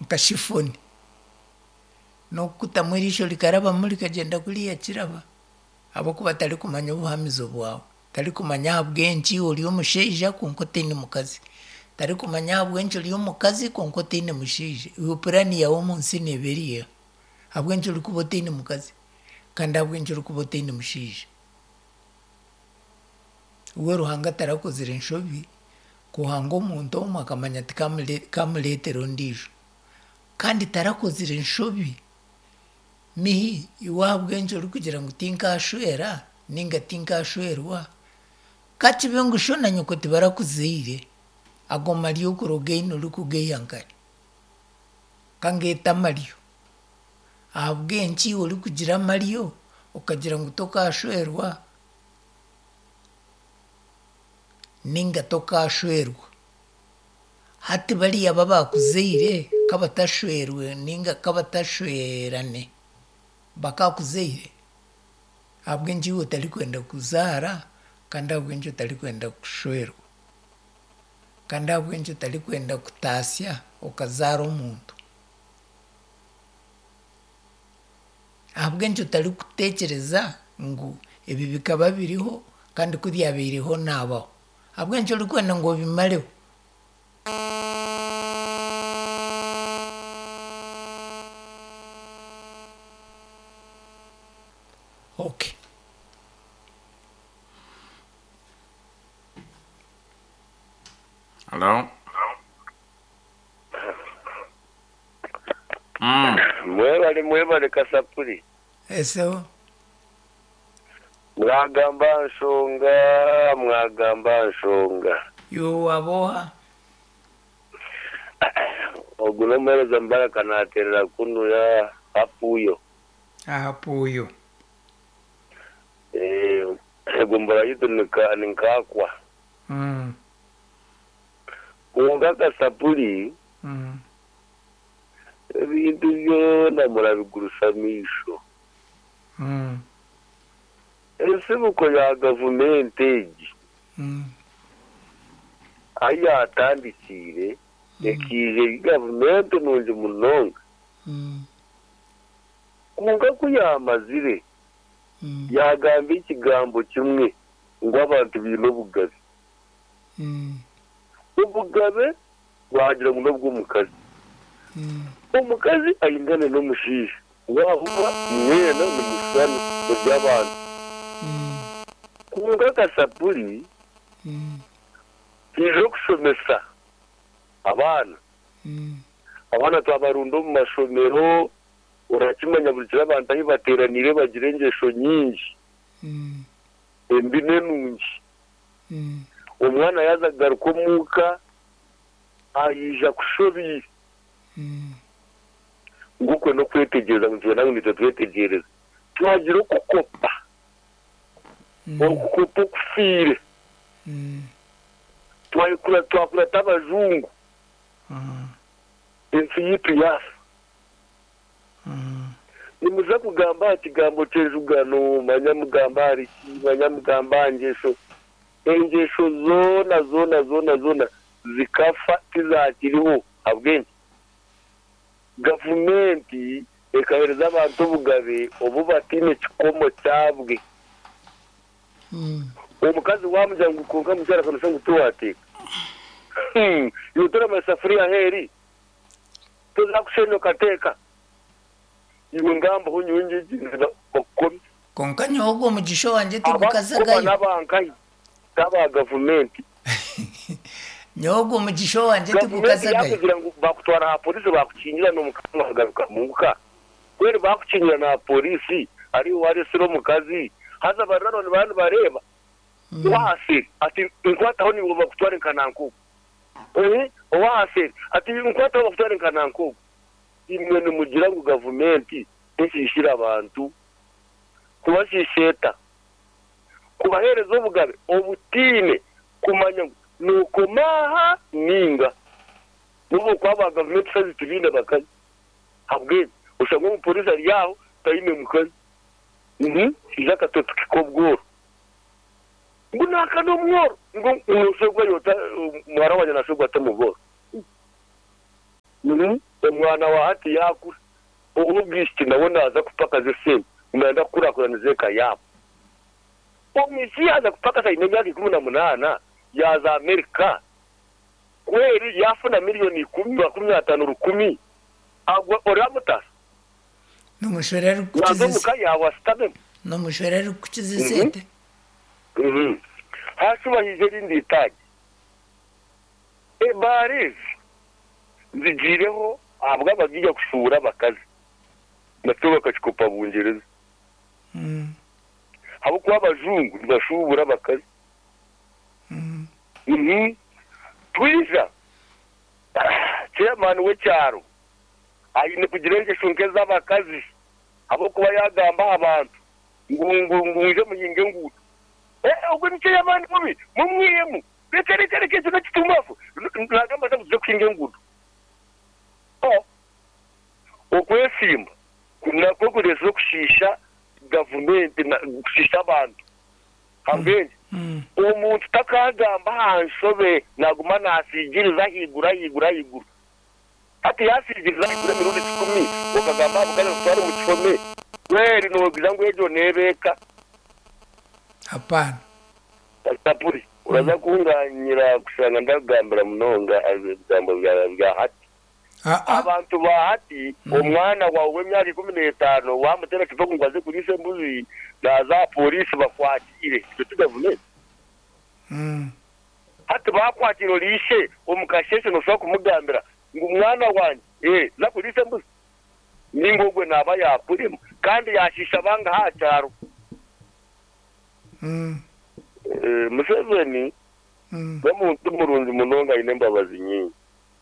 Nka shifoni. N'okukutamu eriisho rikarabamu rikagyenda kuriya kiraba. Ahabw'okuba tarikumanya obuhamizo bwawe. Tarikumanya ahabw'enki ori omushaija kwonka otaine mukazi. Tarikumanya ahabw'enki ori omukazi kwonka otaine mushaija. Iwe puraani yaawe omu nsi neeba eri eha? Ahabw'enki orikuba otaine mukazi kandi ahabw'enki orikuba otaine mushaija? We Ruhanga tarakozire nshobi kuhanga omuntu omwe akamanya ati kamureetera ondiijo. Kandi tarakozire nshobi mihi iwe ahabw'enki orikugira ngu tinkashwera ninga tinkashwerwa? Ka kibe ngu sho na nyoko tibarakuzaire, ago maryo okuroga eine orikugaiha nkahi? Ka ngeete amaryo. Ahabw'enki orikugira amaryo okagira ngu tokashwerwa ninga tokashwerwa? Hati bariya abu abaakuzaire ka batashwerwe ninga ka batashwerane bakaakuzaire? Ahabw'enki iwe otarikwenda kuzaara kandi ahabw'enki otarikwenda kushwerwa? Kandi ahabw'enki otarikwenda kutaasya okazaara omuntu? Ahabw'enki otarikuteekyereza ngu ebi bikaba biriho kandi ku byabaireho naabaho? Ahabw'enki orikwenda ngu obimareho? Okay. Hello? Mm. Mwebale mwebale kasapuri. Esebo. Mwagamba aha nshonga mwagamba aha nshonga. Iwe waaba oha? Ogu n'omuheereza Mubaraka naateerera kunu aha Puuyo. Aha Puuyo. Egombolola yaitu ni Nkaakwa. Kwonka Kasapuri, ebintu byona murabigurusa amaisho. Ensibuko ya gavumenti egi ahu yaatandikiire ekaija eri gavumenti nungi munonga. Kwonka ku yaamazire, yaagamba ekigambo kimwe ngu abantu baine obugabe. Obugabe baagira ngu n'obw'omukazi. Omukazi aingane n'omushaija, waaba mwena nimushushana muri abantu. Kwonka akasapuri kaija okushomesa abaana. Abaana twabarunda omu mashomero, orakimanya buri kiro abantu ahu bateeraniire bagira engyesho nyingi, embi n'enungi. Omwana yaaza kugaruka omuuka, aija kushobeire. Ngu okwo n'okwetegyereza ngu nitwenda ngu naitwe twetegyereze. Twagira okukopa, okukopa okufiire, twakurata abajungu, ensi yaitu yaafa. Nimuza kugamba aha kigambo ky'enjugano, manya mugambe ahari ki, manya mugambe aha ngyesho. Engyesho zoona zoona zoona zoona zikafa tizaakiriho. Ahabw'enki? Gavumenti ekaheereza abantu obugabe obu bataine kikomo kyabwe. Omukazi waamugira ngu kwonka mukyara ka noshusha ngu tiwaateeka. Iwe toramanya safuriya ahu eri? Toza kushenya okateeka? Iwe ngambaho nyowe ngyegyendera bakukome. Kwonka nyowe ogwo mugisha owangye Abakukoma tigukazagayo. n'abankahi? T'aba gavumenti. Nyowe ogwo mugisha owangye Gavumenti tigukazagayo. yakugira ngu bakutwara aha polisi bakukingira n'omukazi wagaruka muka. Mbwenu bakukingira na polisi ari iwe waresire omukazi haza bariraanwa nibaba nibareeba. Owahaseri ati nkwataho niiwe bakutware nka nanka ogu. Owahaseri ati nkwataho bakutware nka nanka ogu. Imwe nimugira ngu gavumenti teshiishire abantu? Kubashiisha eta? Kubaheereza obugabe obutaine kumanya ngu nookoma aha nainga. N'obu okuba aba gavumenti shaaha ezi tibaine bakazi. Ahabw'enki? Oshanga omupooriisi ari aho taine mukazi. Haija akatopiki k'obworo. Ngu naaka n'omworo. Ngu nooshwerwa ota, muhara wangye naashwerwa ata omu bworo? Omwana wa hati yaakura, ow'obwishiki nawe naaza kupakaza esente ngu naayenda kukurakuranisa eka yaabo. Omwishiki yaaza kupakasa aine emyaka 18 yaaza Amerika, kweri yaafuna miriyoni ikumi, makumi ataano, rukumi, agwo oraamutaasa? N'omushwera arikukukiza Naaza omu ka yaawe ashutamemu. N'omushwera arikukukiza esente. Haashuba haija erindi itaagi. Ebaara ezi zigiireho ahabw'abagaiga kushuubura abakazi nakyo bakakikopa Bungyereza. Ahabw'okuba abajungu nibashuubura abakazi. Twija, chairman w'ekyaro aine kugira engyesho nk'ez'abakazi ahabw'okuba yaagamba aha bantu ngu ngu ngu mwije muhinge enguuto. Ogwo ni chairman mubi, mumwihemu. Reka reka reka ekyo n'ekitumbafu. Naagamba ata ngu tuze kuhinga enguuto? Oh! Okwesiimba nakwo kureetsire okushiisha gavumenti kushiisha abantu. Ahabw'enki? Omuntu takaagamba aha nshobe naaguma naasiigiriza ahaiguru ahaiguru ahaiguru. Hati yaasiigiriza ahaiguru emirundi kikumi okagamba aha bukazi akutwara omu kihome, kweri noogira ngu egyo neeba eka? Hapaana. Pastor Puri, oraza kunganyira kushanga ndakugambira munonga ebigambo bya hati. Abantu ba hati, omwana waawe w'emyaka 15 waamuteera kiboko ngu aze kuriisa embuzi, naaza aha pooriisi bakwakiire. Egyo ti gavumenti? Hati baakwakira ori ishe omu kasheeshe nooshobora kumugambira ngu mwana wangye, za kuriisa embuzi? Nainga ogwo naaba yaakurema kandi yaashiisha bangahi aha kyaro? Museveni n'omuntu murungi munonga aine embabazi nyingi.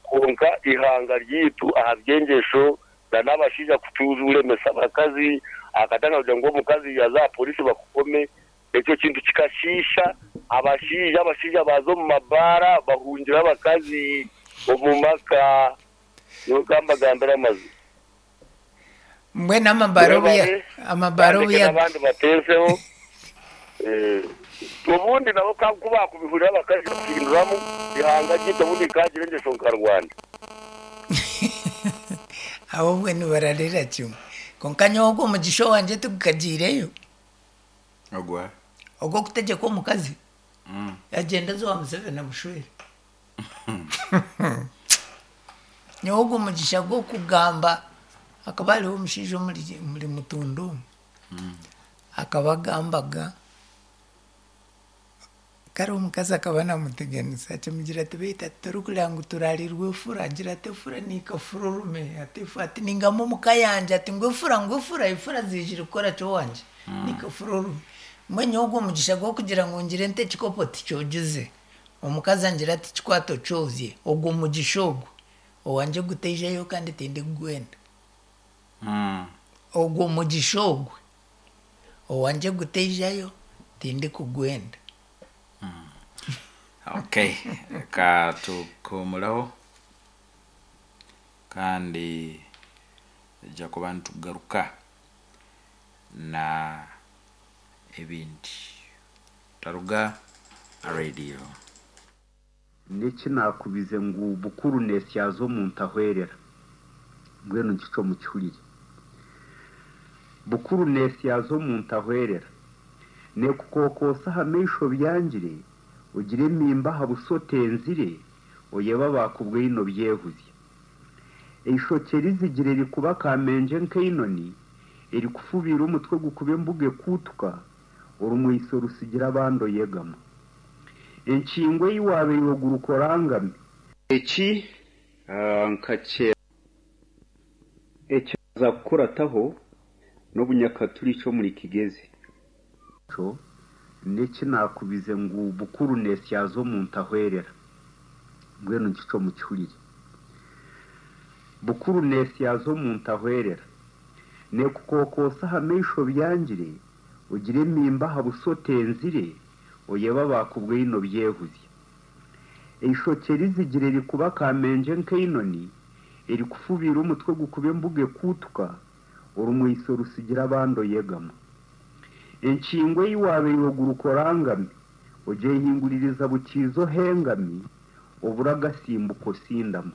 Kwonka eihanga ryaitu aha by'engyesho na n'abashaija kuturemesa abakazi, akatanga kugira ngu omukazi yaza aha polisi bakukome, ekyo kintu kikashiisha abashaija, abashaija baaza omu mabaara bahungira abakazi omu maka. Nyowe ka mbagambire amazima. Mbwenu amabaara obu ya- Mwebare, amabaara obu bandeke ya- n'abandi bateezeho. Obundi nabo ka ku baakubihurira bakaija kuhinduramu eihanga ryaitu obundi rikaagira engyesho nka Rwanda. Abo obwe nibararira kimwe. Kwonka nyowe ogwo mugisha owangye tigukagiireyo. Ogwa? Ogw'okutegyekwa omukazi. Agyende aze owa Museveni amushwere. Nyowe ogwo mugisha gw'okugamba hakaba hariho omushaija omuri omuri Mutunda omu. Akaba agambaga, kare omukazi akaba namuteganisa akimugira ati beitu ati torikureeba ngu turarirwe efura, agira ati efura nikafura orume, ati ati ningamba omuka yangye ati ngu efura ngu efura, efura ziijire kukora ki owangye, nikafura orume. Mbwenu nyowe ogwo mugisha gw'okugira ngu ngire nti ekikopo tikyogize, omukazi angira ati kikwate okyozye, ogwo mugisha ogwo owangye gutaijayo kandi tindikugwenda. Ogwo mugisha ogwe owangye gutaijayo tindikugwenda. Okay, reka tukuhumureho kandi nitwija kuba nitugaruka na ebindi. Otaruga aha rediyo. N'eki naakubize ngu bukuru neesyaza omuntu ahwerera. Mbwenu nkikyo mukihurire. Bukuru neesyaza omuntu ahwerera. Neekukookoosa aha maisho byangire, ogire emiimba aha buso otenzire, oyebe abaakubwaine obyehuzye. Eishokye rizigire rikuba kamengye nk'einoni, erikufubiira omutwe gukuba embuga ekuutuka, orumweiso rutsigira abandi oyegama. Enkingo ei waabaire oguruka orangame. Eki nkakye. Ekyaza kukurataho n'obunyakaturiki omuri Kigezi. Ekyo n'eki naakubize ngu bukuru neesyaza omuntu ahwerera. Mbwenu nkikyo mukihurire. Bukuru neesyaza omuntu ahwerera. Neekukookoosa aha maisho byangire, ogire emiimba aha buso otenzire, oyebe abaakubwaine obyehuzye. Eishokye rizigire rikuba kamengye nk'einoni, erikufubiira omutwe gukuba embuga ekuutuka, orumweiso rutsigira abandi oyegama. Enkingo ei waabaire oguruka orangami, ogyehinguririza bukiiza ohengami, obura agasimbuka osindama.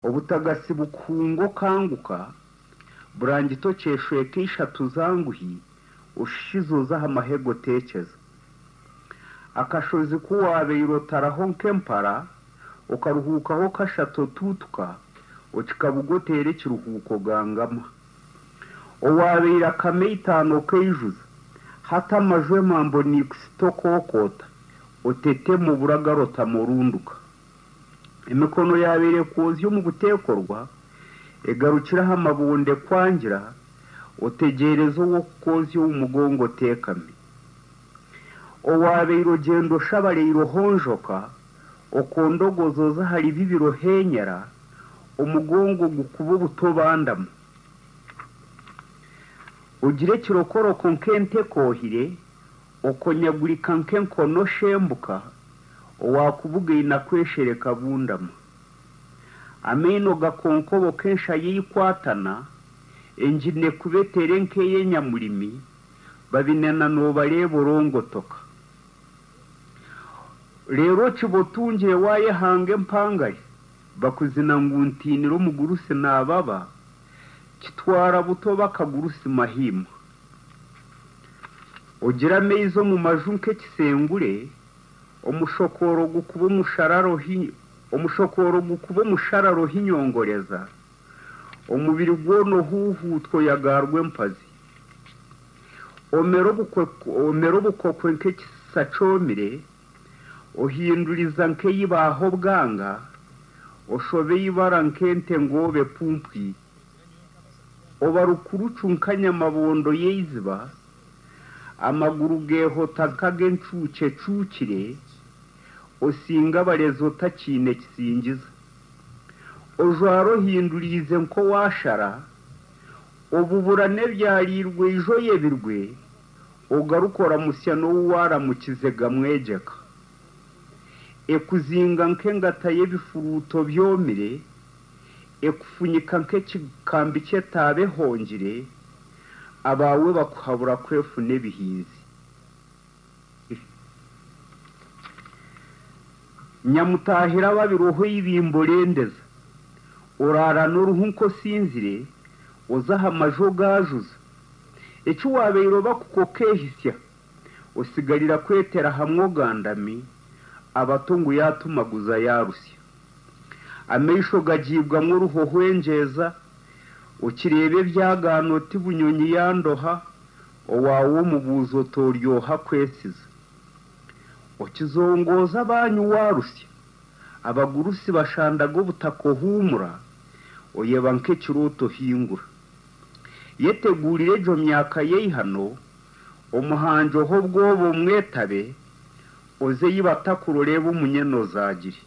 Obutagasi bukuhunga okanguka, burangiti okyeshweka ishatu zanguhi, oshushize oze aha mahega oteekyeza. Akashozi ku waabaire otaraho nk'empara, okaruhuukaho kashatu otuutuka, okikabuga oteera ekiruhuuko gangama. Owaabaire akama eitaano okaijuza, hati amaju emambo niikusita okookoota, otetema obura garotama orunduka. Emikono yaabaire ekwozya omu buteekorwa, egarukire aha mabonde kwangira, otegyereza ow'okukwozya omu mugongo oteekami. Owaabaire ogyenda oshabareire ohonjoka, okondogoza oza ahari bibiri ohenyera, omugongo gukuba obuto obandama. Ogira ekirokoroko nk'ente ekoohire, okonyagurika nk'enkoni oshembuka, owaakubugaine akweshereka abundama. Amaino gakonkoboka enshaya eikwatana, engine ekuba etere nk'ey'enyamurimi, babinena noobareeba orongotoka. Reero okiba otungire waayehanga empangare, bakuzina ngu ntiinire omugurusi naababa, kitwara buto bakagurusi mahiima. Ogira amaizi omu maju nk'ekisengure, omushokooro gukuba omusharara omushokooro gukuba omusharara ohinyongoreza, omubiri gwona ohuuhuutwa oyagaarwa empazi. Omera obukokwe nk'ekisa kyomire, ohinduriza nk'eibaaho obwanga, oshoba eibara nk'ente ngoobe pumpwi. Oba rukurucu nka nyamabondo y'eiziba, amaguru geehota nk'ag'encuukye ecuukire, osinga abarezi otakiine kisingiza. Ojwara ohinduriize nk'owaashara, obubura n'ebyariirwe ijo oyebirwe, ogaruka oramutsya n'ou waaramukize gamwegyeka. Ekuzinga nk'engata y'ebifuruuto byomire, ekufunyika nk'ekikambi ky'etaaba ehongire, abaawe bakuhabura kwefuna ebihinzi. Nyamutaahira ababiroho eibimbo rendeza, oraara n'oruhu nk'osinzire, oza aha maju ogaajuza. Eki waabaire oba kukokeehisya, osigarira kwetera hamwe ogandami, abato ngu yaatumaguza yaarusya. Amaisho gagiibwamu oruhohwengyeza, okireeba ebyagaana oti bunyonyi yandoha, owaawe omubuuza oti oryoha kwesiza. Okizongooza abanyu waarusya, abagurusi bashandaga obutaka ohuumura, oyeba nk'ekirooto ohingura. Yeteguurire egyo myaka y'eihano, omuhangi ohe obwoba omwetabe, oze ei batakuroreeba omunyene ozaagire.